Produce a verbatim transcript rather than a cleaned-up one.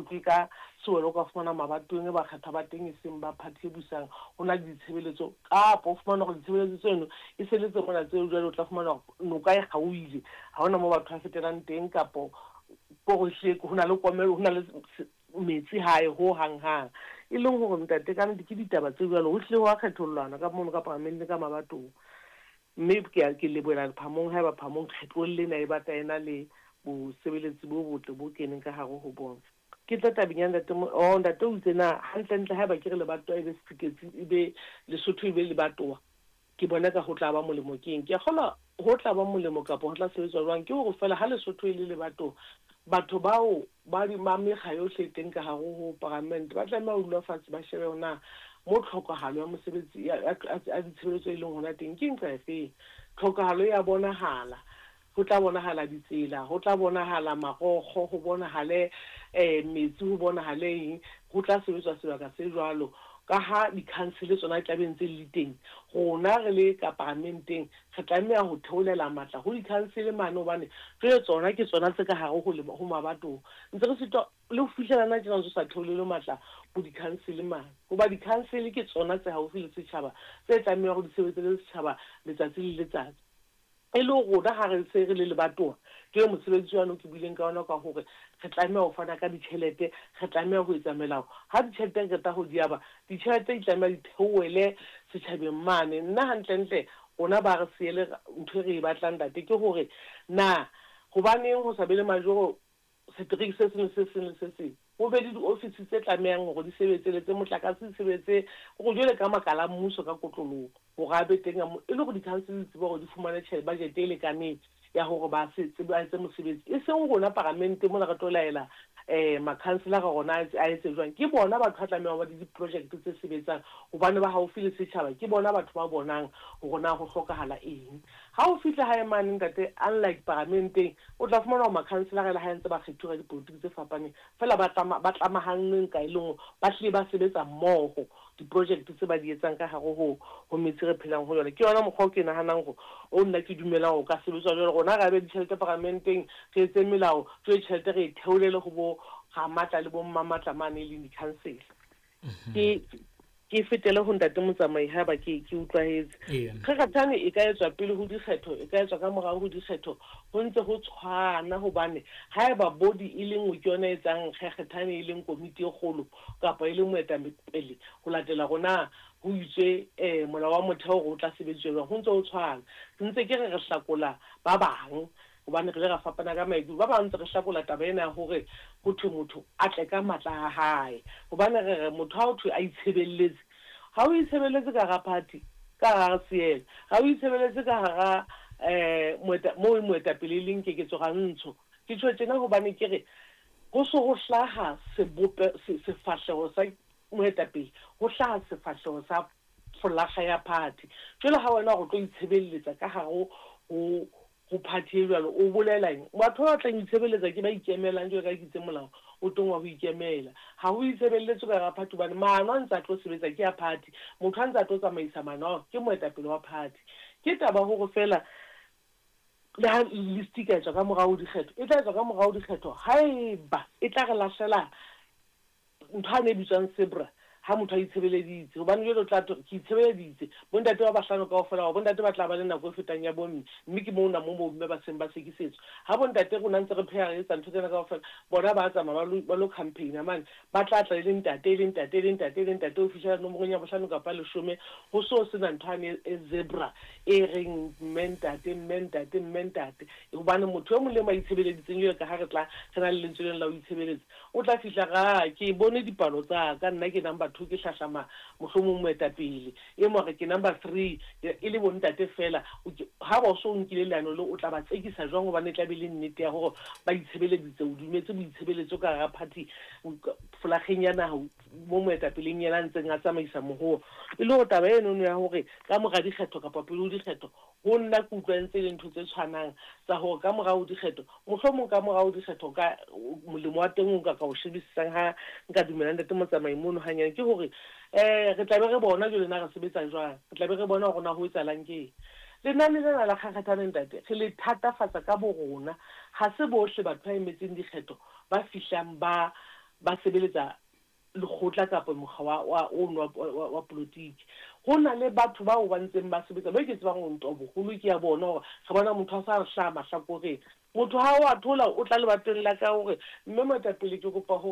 ke ka sewelo o ka fumana mabatoweng e bakgethwa ba teng e seng ba party e busang, ho na le ditshebeletso, kapa o fumana hore ditshebeletso tseno e se le tse mona tseo jwale o tla fumana hore noka e kgaohile, ha hona moo batho ba fetelang teng, kapo ko re ho na le komello, ho na le metsi hae ho hang hang. E leng hore ntate ka nnete ke ditaba tse jwalo, ho hlile hwa kgethollwana ka mono ka paramenteng ka mabatoweng. Mme ke a ke lebohela Phamong haeba Phamong kgetlong lena e batla e na le bosebeletsi bo botle bo keneng ka hare ho bona. Ke tla tabeng ya ntate, oh ntate o itse na hantlentle haeba ke re lebatowa e be Seketsi, e be Lesotho e be lebatowa, ke bona ka ho tla ba molemo keng? Ke a kgolwa ho tla ba molemo kapa ho tla sebetswa jwang ke hore feela ha Lesotho e le lebatowa, batho bao ba ba mekga yohle e teng ka hare ho paramente ba tlameha ho dula fatshe ba shebe hore na mo tlhokahalo ya mosebetsi ya ya ditshebeletso e leng hona teng ke nqa efeng. Tlhokahalo ya bonahala, ho tla bonahala ditsela, ho tla bonahala marokgo, ho bonahale um metsi, ho bonahale eng, ho tla sebetswa sebaka se jwalo. Ka ha di-council tsona di tla be ntse le teng, rona re le ka paramenteng re tlameha ho theolela matla ho di-council mane, hobane jwale tsona ke tsona tse ka hare ho ho mabatowa. Ntse re sitwa le ho fihlela na tjena ntso sa theolele matla ho di-council mane, hoba di-council ke tsona tse haufi le setjhaba, tse tlamehang hore di sebetse le setjhaba letsatsi le letsatsi. E le rona ha re se re le lebatowa, ke mosebetsi wane o ke buileng ka ona ka hore re tlameha ho fana ka ditjhelete, re tlameha ho etsa melao. Ha ditjhelete re qeta ho di aba, ditjhelete di tlameha di theohele setjhabeng mane. Nna hantlentle rona ba re siele ntho e re e batlang ntate ke hore na hobaneng ho sa be le majoro setereke se seng le se seng le se seng, ho be le diofisi tse tlamehang hore di sebetse le tse motlakase di sebetse hore jwale ka makala a mmuso ka kotloloho hore a be teng e le hore di-council di tsebe hore di fumane tjhelete budget e lekaneng ya hore ba se ba etse mosebetsi. E seng rona paramente mona re tlo laela um makhanselara rona a etse jwang. Ke bona batho ba tlamehang ho ba le di-project tse sebetsang hobane ba haufi le setjhaba, ke bona batho ba bonang hore na ho hlokahala eng. Ha o fihla hae mane ntate, unlike paramenteng, o tla fumana hore makhanselara le ha ntse ba kgethuwa ka dipolotiki tse fapaneng, feela ba tlama ba tlamahanngwe ka e le nngwe, ba hlile ba sebetsa mmoho di-project tse ba di etsang ka hare ho ho metse re phelang ho yona. Ke yona mokgwa o ke nahanang hore o nna ke dumelang hore o ka sebetswa jwalo. Rona re abe ditjhelete paramenteng, re etse melao, jwale tjhelete re e theolele ho bo ramatla le bo mmamatla mane e leng di-council. Ke ke fetele ho ntate Motsamai haeba ke ke utlwahetse. Kgakgathane e ka etswa pele ho dikgetho, e ka etswa ka morao ho dikgetho, ho ntse ho tshwana hobane haeba body e le nngwe ke yona e etsang kgakgathane e leng komiti e kgolo kapa e leng moetapele ho latela rona ho itswe um molao wa motheo hore o tla sebediswa jwang, ho ntse ho tshwana. Ntse ke re re hlakola ba bang hobane re ile ra fapana ka maikutlo. Ba bang ntse re hlakola taba ena ya hore ho thwe motho a tle ka matla a hae, hobane re re motho ha ho thwe a itshebeletse, ha o itshebeletse ka hara party, ka hara seela, ha o itshebeletse ka hara um moeta moo moetapele e leng Keketso Rantsho. Ke tjho tjena hobane ke re ho so ho hlaha sebope sefahleho sa moetapele, ho hlaha sefahleho sa folaga ya party. Jwale ha wena o tlo itshebeletsa ka hare ho ho party e jwalo, o bolela eng? Batho ba batlang ho itshebeletsa ke ba ikemelang jwalo ka ke itse molao o teng wa ho ikemela. Ha ho itshebeletswe ka hara party hobane maano a ntse a tlo sebetsa ke a party, motho a ntse a tlo tsamaisa maano ao ke moetapele wa party. Ke taba hore feela le ha list e ka etswa ka morao ho dikgetho, e tla etswa ka morao ho dikgetho haeba e tla re lahlela ntho ane e bitswang zebra ha motho a itshebeleditse, hobane jwale o tla thwe ke itshebeleditse, bontate ba bahlano kaofela ba bontate ba tla ba le nako e fetang ya bomme, mme ke mona mo bomme ba seng ba sekisetswa. Ha bontate rona ntse re pheha re etsa ntho tsena kaofela, bona ba tsamaya ba lo ba lo campaign-a mane, ba tla tla e le ntate e le ntate e le ntate e le ntate ho fihlela nomorong ya bohlano kapa leshome, ho so sena ntho ane e zebra e reng mme ntate mme ntate mme ntate, hobane motho e mong le e mong a itshebeleditseng jwalo ka ha re tla re na le lentswe lena la ho itshebeletsa, o tla fihla ra ke bone dipalo tsa ka, nna ke number two ke hlahlama mohlomong moetapele, e mong a re ke number three e le bontate fela. Ha ba so nkile leano leo, o tla ba tsekisa jwang? Hobane e tla be le nnete ya hore ba itshebeleditse, o dumetse boitshebeletso ka hara party folageng ya naha mo moetapeleng yena a ntseng a tsamaisa mohoo. E le hore taba enono ya hore ka mora dikgetho kapa pele ho dikgetho, ho nna ke utlwa ntse le ntho tse tshwanang tsa hore ka morao ho dikgetho, mohlomong ka morao ho dikgetho ka molemo wa teng o nka ka o shebisisang ha nka dumela ntate Motsamai mono hanyane, ke hore um re tla be re bona jwale na re sebetsa jwang, re tla be re bona hore na ho etsahalang ke eng. Lenane lena la kgakgathane ntate re le thatafatsa ka bo rona, ha se bohle batho ba emetseng dikgetho ba fihlang ba ba sebeletsa lekgotla kapa mokga wa wa ono wa, wa, wa politiki. Ho na le batho bao ba ntseng ba sebetsa ba ke tsebang hore ntwa boholo ke ya bona, hore re bona motho a sa re hlaha mahlakoreng. Motho ha o a thola, o tla lebatong la ka hore mme moetapele ke kopa ho